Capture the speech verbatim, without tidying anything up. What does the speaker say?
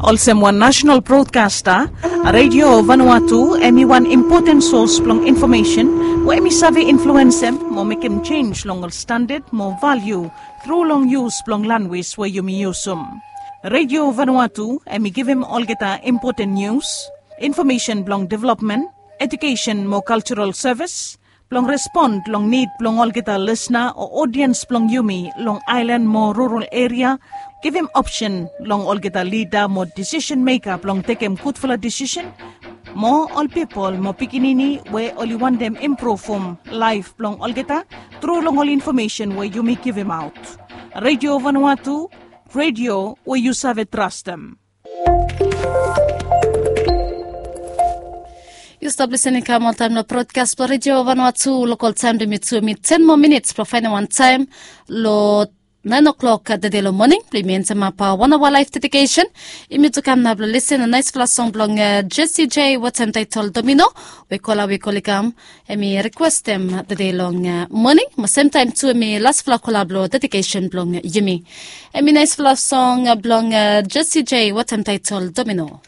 Olsem wan nasenal brodkasta, Redio Vanuatu em i wan impoten sos blong infomesen we em i save influensem mo mekem jenis long ol standad mo valiu tru long yus blong lanwis we yumi yusum. Redio Vanuatu em i givim olgeta impoten nius, infomesen blong developmen, ejukesen mo kaljaral sevis, blong respon long nid blong olgeta lisna o odiens blong yumi long aelan mo rural eria, givim opsen long olgeta lida mo disisen meka blong tekem gudfala disisen, mo ol pipol mo pikinini we oli wantem impruvum laef blong olgeta tru long ol infomesen we yumi givimaot. Redio Vanuatu, redio we yu save trastem. Yu stap lisening kam oltaem long brodkas blong Redio Vanuatu. Lokal taem blong yumi tu yumi ten moa minits blong faenem wan taem long naen o'klok tede long moning blong yumi entemap wan aoa laef dedikesen. Yumi tu kam nao blong lisen long naesfala song blong Jesse J wetem taetol Domino, we kola we koli kam, em i rikwestem tede long moning mo semtaem tu em i lasfala kola blong dedikesen blong yumi. Em i naesfala song blong Jesse J wetem taetol Domino.